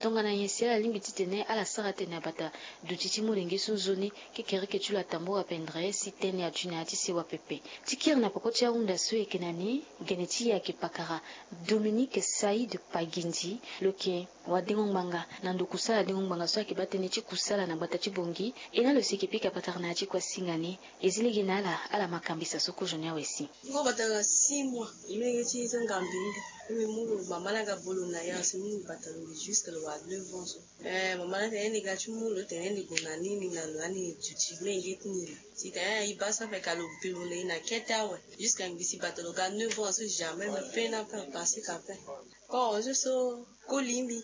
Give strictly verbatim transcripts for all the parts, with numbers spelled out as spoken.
Tongana nyen si ala lingbi titene ala sara tene abata duti ti molenge so nzoni? Kekereke ti lo atambura pendere si tene aju na ya ti sewa pepe. Ti kiri na peko ti ahunda so eke na ni, gene ti e ayeke pakara Dominique Saïd Pagindi, lo yeke wadengo ngbanga na ndo kusala dengo ngbanga so ayeke baa tënë ti kusala na gbata ti Bangui. E na lo si eke pika patara na ya ti kuasinga ni. E zi lege na ala, ala ma kambisa so kozo ni awe si. Ngo bata na six mois, e menge ti zanga mbimbi. E mbi mu lo mama na ga bolo na ya si mu lo bata lo jusque lo wa neuf ans so. Eh, mama na tene ni ga ti mu lo tene ni gue na ni ni na lo ani duti menge ti ni. Si tene e baa so ape ka lo bi lo na e na kete awe. Jusque ngbisi bata lo ga neuf ans so jamais mbi pe na pe pasi ka pe. Ko so so ko limbi.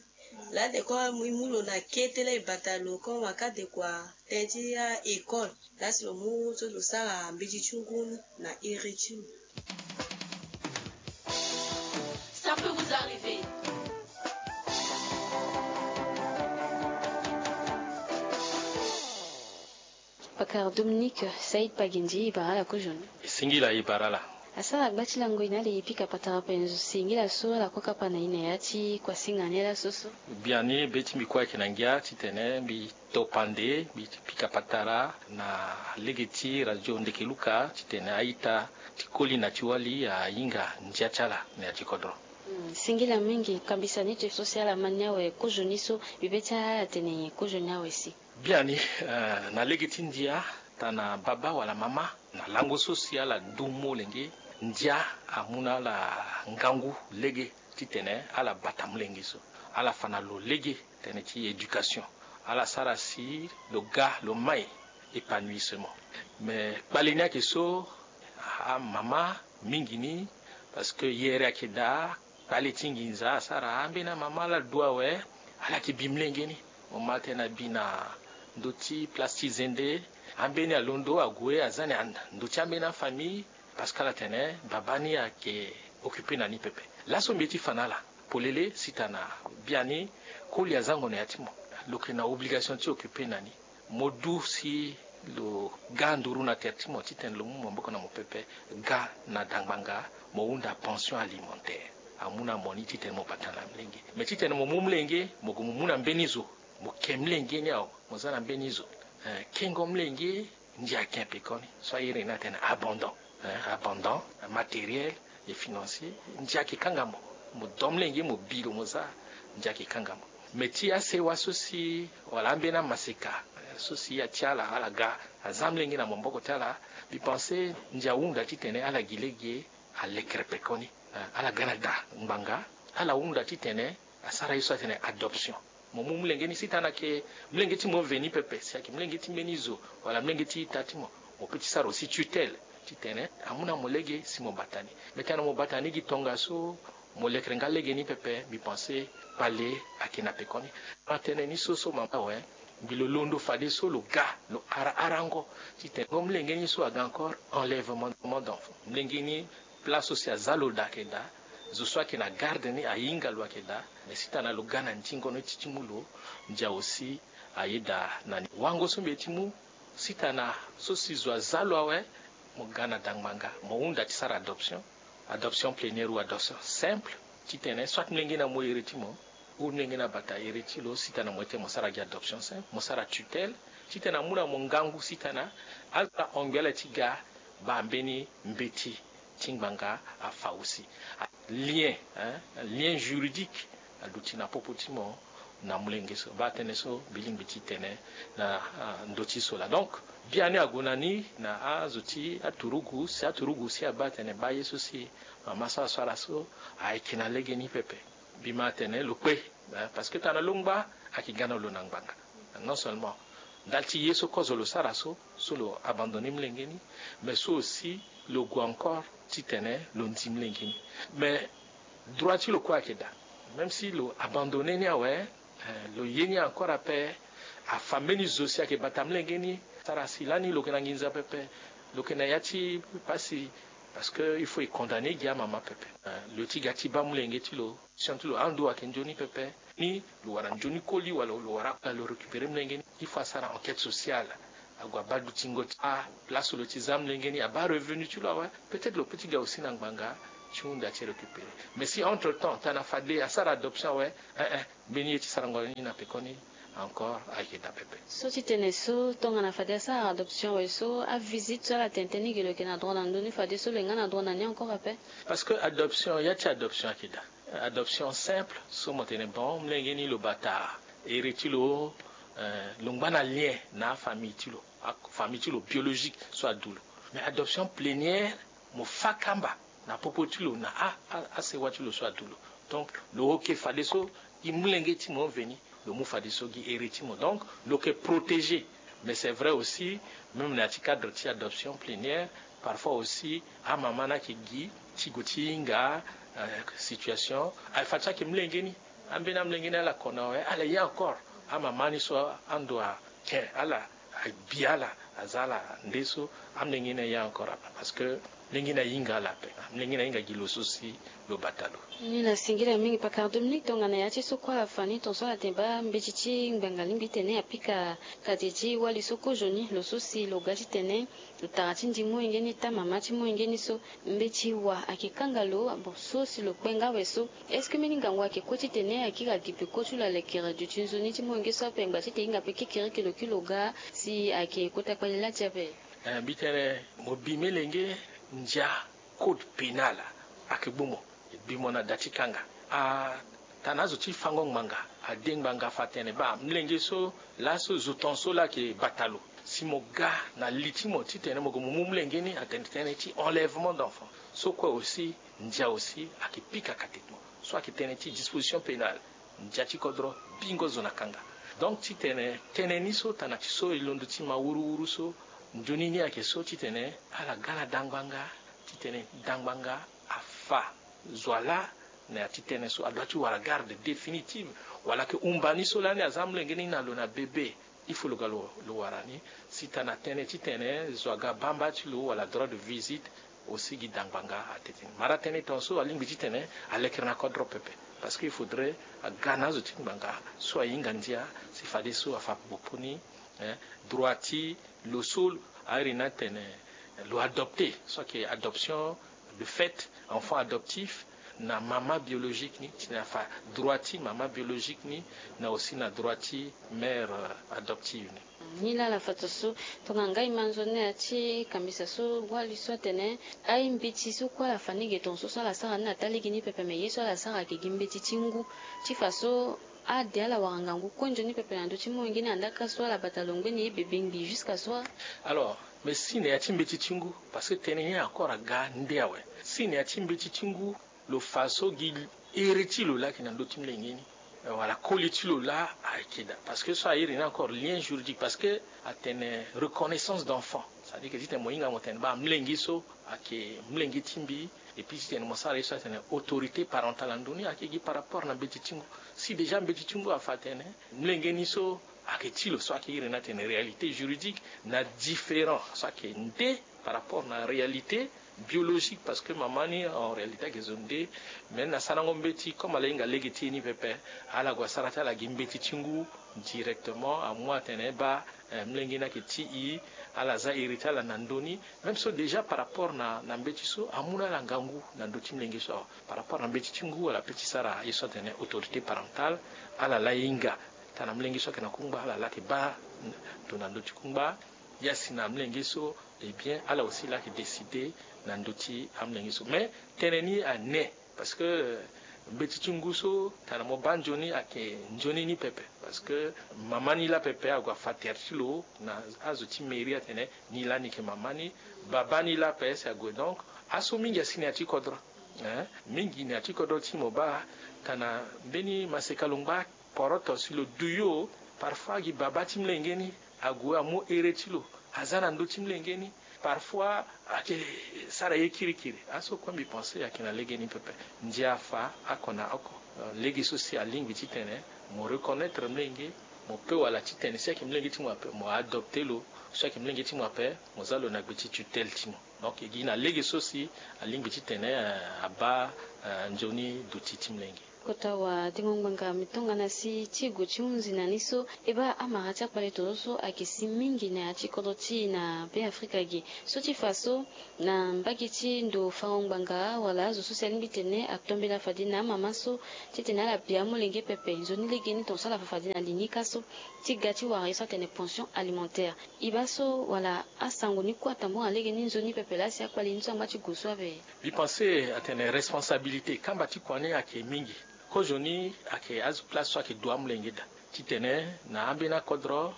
Laa de ko mu lo na kete laa e bata lo ko ma ka de kua tënë ti a-école. Laa si lo mu so lo sara mbeti ti ngu ni na iri ti lo. Ça peut vous arriver. Pakara Dominique Saïd Pagindi, e bara ala kozo ni. E singila e bara ala. Asara gba ti lango e na ala e pika patara penzo singila so ala kue kapa na e na ya ti kuasinga ni laso so. Biani be ti mbi kue ayeke na ngia titene mbi to pande mbi pika patara na lege ti radio Ndekeluka titene a-ita ti koli na ti wali ahinga ndia ti ala na ya ti kodro. Hmm, singila mingi. Kambisa ni ti e so si ala ma ni awe kozo ni so, mbi be ti ala tene nyen kozo ni awe si. Biani, eh, na lege ti ndia, tana baba wala mama, na lango so si ala du molenge, ndia amu na ala ngangu lege titene ala bata molenge so, ala fa na lo lege tënë ti éducation, ala sara si lo ga lo mai épanouissement. Mais kpale ni ayeke so, amama mingi ni, parce que yere ayeke daa, kpale ti nginza asara ambeni amama ala du awe, ala yeke bi molenge ni. Mo ma tene abi na ndö ti place ti zende, ambeni alondo ague aza ni anda ndö ti ambeni afamille, parce que ala tene baba ni ayeke occupé na ni pepe. Laso mbi ye ti fa na ala polele si tana biani koli azango na ya ti mo, lo yeke na obligation ti occupé na ni. Mo du si lo ga nduru na tere ti mo titene lo mu maboko na mo pepe, ga na dangbanga, mo hunda pension alimentaire. Amu na mo ni titene mo bata na molenge. Mais titene mo mu molenge, mo gue mo mu na mbeni zo, mo ke molenge ni awe, mo za na mbeni zo. Eh, kengo molenge, ndia ake pekoni. So a iri ni atene abandon. Eh, abandon matériel et financier. Ndia ake kanga mo. Mo do molenge, mo bi lo, mo za. Ndia ake kanga mo. Mais ti asewa so si, wala ambeni amaseka, eh, so si ya ti ala, ala ga aza molenge na maboko ti ala, mbi pense ndia ahunda titene ala gi lege alekere pekoni. Eh, ala ga na da ngbanga, ala hunda titene asara ye so atene adoption. Mo mu molenge ni si tana ayeke molenge ti mo veni pepe, si ayeke molenge ti mbeni zo, wala molenge ti ita ti mo, mo peut ti sara aussi tutelle titene amu na mo lege si mo bata ni. Mais tena mo bata ni gi tongaso, mo lekere nga lege ni pepe, mbi pense kpale ayeke na pekoni. Atene ni so so mama awe, mbi lo londo fadeso lo ga lo ara arango titene ngo molenge ni so aga encore enlèvement d'enfant. Molenge ni place so si aza lo daa ayeke daa, zo so ayeke na garde ni ahinga lo ayeke daa. Mais si tana lo ga na ndingo ni ti ti mu lo, ndia aussi aye daa na ni. Wango so mbi ye ti mu, si tana so si zo aza lo awe, mo ga na dangbanga, mo hunda ti sara adoption, adoption plénière ou adoption simple, titene soit molenge ni amu iri ti mo, ou molenge ni abata iri ti lo, si tana mo ye ti mo sara gi adoption simple, mo sara tutelle, titene amu na mo ngangu si tana ala hongbi ala ti ga baa mbeni mbeti ti ngbanga afa aussi. Lien, hein, lien juridique aduti na popo ti mo na molenge so. Baa tënë so mbi lingbi ti tene na, ah, ndö ti so laa. Donc biani ague na ni na azo ti aturugu, si aturugu si abaa tene baa ye so si mama so asara so ayeke na lege ni pepe. Mbi ma tene lo kpe, eh, parce que tana lo ngba ayeke ga na lo na ngbanga. Non seulement ndali ti ye so kozo lo sara so, so lo abandonné molenge ni, mais so aussi lo gue encore titene lo ndi molenge ni. Mais droit ti lo kue ayeke daa. Même si lo abandonné ni awe, eh, lo ye ni encore ape, afa mbeni zo si ayeke bata molenge ni, sara si lani lo yeke na nginza pepe, lo yeke na ya ti pasi, parce que il faut e condamné gi amama pepe. Eh, lo ti ga ti baa molenge ti lo, situation ti lo ando ayeke nzoni pepe. Ni lo wara nzoni koli wala lo wara, lo récupéré molenge ni, il faut asara enquête sociale. Ague abaa dutingo ti, ah, place lo ti za molenge ni, abaa revenu ti lo awe. Peut-être lo peut ti ga aussi na ngbanga ti hunda ti récupérer. Mais si entre temps tana fade asara adoption awe, eh eh, mbeni ye ti sarango ni na pekoni encore ayeke daa pepe. So ti tene so tongana fade asara adoption awe so avisite so ala tene tënë ni ge lo yeke na droit na ndö ni fadeso lo yeke nga na droit na ni encore ape. Parce que adoption, ya ti adoption ayeke daa. Adoption simple so mo tene bon, molenge ni lo bata ere ti lo, eh, lo ngba na lien na afamille ti lo, afamille ti lo biologique so adu lo. Mais adoption plénière, mo fa kamba na popo ti lo na a, a, asewa ti lo so adu lo. Donc lo oke fadeso gi molenge ti mo veni, lo mu fadeso gi ere ti mo. Donc lo yeke protégé. Mais c'est vrai aussi, même na ya ti cadre ti adoption plénière, parfois aussi amama ni ayeke gi ti gue ti hinga, euh, situation. Aye fa ti ayeke molenge ni, ambeni amolenge ni ala ko na awe, ala ye encore. Amama ni so ando ake ala, abi ala, aza ala nde so, amolenge ni aye encore ape. Parce que molenge ni ahinga ala ape. Molenge ni ahinga gi lo so si lo bata lo. Ni la singila mingi pakara Dominique tongana ya ti so kue ala fa ni, tongaso ala tene baa mbeti ti ngbanga alingbi ti tene apika kati ti wali so kozo ni, lo so si lo ga ti tene tara ti ndi molenge ni, taa mama ti molenge ni so, mbeti wa ayeke kanga lo. Bon, so si lo kpe nga awe so, est-ce que mbeni ngangu ayeke kue ti tene akiri agi peko ti lo alekere duti nzoni ti molenge so ape ngba ti tene e hinga pe kekereke lo kiri lo ga si ayeke kota kpali laa ti ape? Eh, mbi tene mo bi melenge ndia code pénal ayeke gbu mo, e bi mo na da ti kanga. Atana azo ti fango ngbanga, ade ngbanga afa atene baa molenge so laso zo tongaso laa ayeke bata lo. Si mo ga na li ti mo titene mo gue mo mu molenge ni, atene tënë ti enlèvement d'enfant. So kue aussi, ndia aussi ayeke pika kati ti mo. So ayeke tënë ti disposition pénale, ndia ti kodro bingo zo na kanga. Donc titene tënë ni so tana ti so e londo ti ma wuruwuru so, nzoni ni ayeke so titene ala ga na dangbanga, titene dangbanga afa zo wa laa na ya ti tënë so, adoit ti wara garde définitive. Wala ayeke humba ni so lani aza amolenge ni na lo na bébé, il faut lo ga lo, lo wara ni. Si tana tënë titene zo aga bamba ti lo wala droit de visite, aussi gi dangbanga atene ni. Mara tënë tongaso alingbi titene alekere na kodro pepe. Parce que il faudrait aga na azo ti ngbanga so ahinga ndia si fadeso afa popo ni, eh, droit ti lo so airi ni atene lo adopté, so ayeke adoption de fait, enfant adoptif, na mama biologique ni, titene afa droit ti mama biologique ni, na aussi na droit ti mère, euh, adoptive ni. Ni laa ala fa tongaso, tongana ngai ma nzoni na ya ti kambisa so wali so atene, aye mbeti so kue ala fa ni ge tongaso so ala sara ni na taa lege ni pepe, me ye so ala sara ayeke gi mbeti ti ngu. Ti fa so ade ala wara ngangu kue nzoni pepe na ndö ti molenge ni, andaka so ala bata lo ngbeni ye bebe ngbii jusqu'à so. Alors, mais si na ya ti mbeti ti ngu, parce que tënë ni encore aga nde awe. Si na ya ti mbeti ti ngu, lo fa so gi ere ti lo laa ayeke na ndö ti molenge ni, eh, wala koli ti lo laa ayeke daa. Parce que so airi ni encore lien juridique, parce que atene reconnaissance d'enfant, c'est-à-dire que titene mo hinga mo tene baa molenge so ayeke molenge ti mbi, et puis titene mo sara ye so atene autorité parentale na ndö ni, ayeke gi par rapport na mbeti ti ngu. Si déjà mbeti ti ngu afa atene molenge ni so ayeke ti lo, so ayeke iri ni atene réalité juridique, na différent, so ayeke nde par rapport na réalité biologique, parce que mama ni en réalité ayeke zo nde. Mais na sarango mbeti, comme ala hinga lege ti e ni pepe, ala gue asara ti ala gi mbeti ti ngu directement, amu atene baa, eh, molenge ni ayeke ti e, ala za iri ti ala na ndö ni. Même so déjà par rapport na, na mbeti so amu na ala ngangu na ndö ti molenge so awe. Par rapport na mbeti ti ngu, ala peut ti sara ye so atene autorité parentale, ala laa e hinga titene amolenge so ayeke na kungba, ala laa ayeke baa ndo na ndö ti kungba. Ya si na amolenge so, eh bien, ala aussi laa ayeke décider na ndö ti amolenge so. Mais tënë ni ane, parce que, euh, mbeti ti ngu so titene mo baa nzoni ayeke nzoni ni pepe. Parce que mama ni laa pepe ague afa tere ti lo na azo ti mairie atene ni lani ayeke mama ni. Baba ni laa ape si ague. Donc aso mingi asi na ya ti kodro. Hein? Mingi na ya ti kodro ti mo baa titene mbeni maseka lo ngba poroto si lo duyo. Parfois agi baba ti molenge ni ague amu ere ti lo, aza na ndö ti molenge ni. Parfois ayeke sara ye kirikiri. Aso kue mbi pense ayeke na lege ni pepe. Ndia afa oko na oko. Euh, lege so si alingbi titene mo reconnaître molenge, mo peut wala titene si ayeke molenge ti mo ape mo adopter lo, so ayeke molenge ti mo ape mo za lo na gbe ti tutelle ti mo. Donc e gi na lege so si alingbi titene, euh, abaa, euh, nzoni duti ti molenge. Kota wa dengo ngbanga mi tongana si ti gue ti hunzi na ni so e baa amara ti akpale tongaso so ayeke si mingi na ya ti kodro ti e na Be Afrika ge. So ti fa so na mbage ti ndo fango ngbanga wala azo so si alingbi tene atombela fade na amama so titene ala bi amolenge pepe nzoni legeni tongaso ala fa fade na li ni ka so ti ga ti wara ye so atene pension alimentaire. E baa so wala asango ni kue atambula na legeni nzoni pepe laa si akpale ni so angba ti gue so ape? Mbi pense atene responsabilité kamba ti kua ni ayeke mingi. Kozoni ayeke azo place so ayeke du amolenge daa titene na ambeni akodro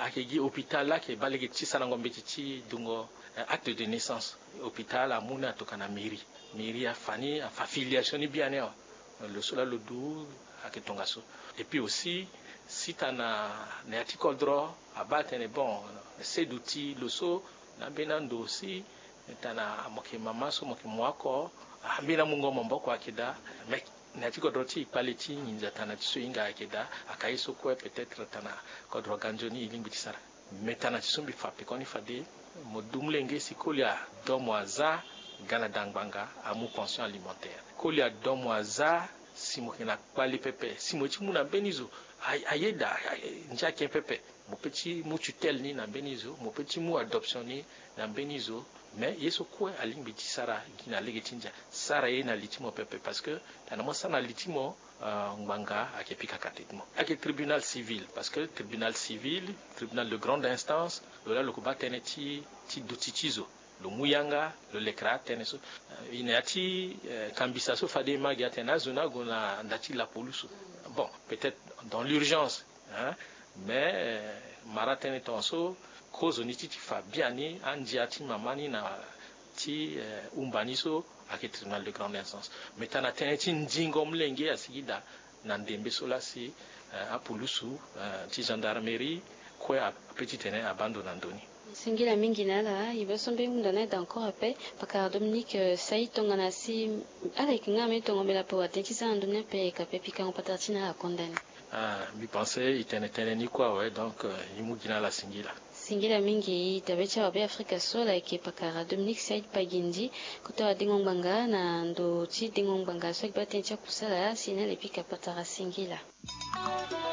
ayeke gi hôpital laa ayeke baa lege ti sarango mbeti ti dungo acte de naissance. Hôpital amu ni atokua na mairie. Mairie afa ni afa filiation ni biani awe. Lo so laa lo du ayeke tongaso. Et puis aussi si tana na ya ti kodro abaa atene bon seduti lo so na ambeni ando aussi tana mo yeke mama so mo yeke mu oko ambeni amungo maboko ayeke daa. Mais na ya ti kodro ti e kpale ti nginza tana ti so e hinga ayeke daa. Aka ye so kue peut-être tana kodro ganzoni e lingbi ti sara. Mais tana ti so mbi fa pekoni fade mo du molenge si koli adomo aza ga na da ngbanga amu pension alimentaire. Koli adomo aza si mo yeke na kpale pepe si mo ye ti mu na mbeni zo ayeda ndia ake pepe. Mo pe ti mu tutelle ni na mbeni zo mo pe ti mu adoption ni na mbeni zo. Mais ye so kue alingbi ti sara gi na lege ti ndia sara ye na li ti mo pepe parce que tana mo sara na li ti mo ngbanga ayeke pika kate ti mo. Ayeke tribunal civil parce que tribunal civil tribunal de grande instance lo laa lo yeke baa tënë ti ti duti ti zo. Lo mu yanga lo lekere atënë so. E na ya ti kambisa so fade e ma gi atene azo ni ague na nda ti lapolusu. Bon peut-être dans l'urgence hein. Mais mara tënë tongaso kozoni ti ti fa biani andia ti mama ni na ti umba ni so ayeke tribunal de grande instance. Mais tana tënë ti ndingo molenge asigi daa na ndembe so laa si apulusu ti gendarmerie kue ape titene abaa ndo na ndö ni. Singila mingi na ala e baa so mbe hunda na eda encore ape. Pakara Dominique sai tongana si ala yeke nga mbe tongo mbela ape wa tënë ti za na ndö ni ape e yeke ape pikango patara ti na ala konda ni. Ah mbi pense e tene tënë ni kue awe donc e mu gi na ala singila. Singila mingi e tabe ti awa Be Afrika so ala yeke pakara Dominique Saïd Pagindi kota wa dengo ngbanga na ndo ti dengo ngbanga so ayeke baa tënë ti akusala si na ala e pika patara singila.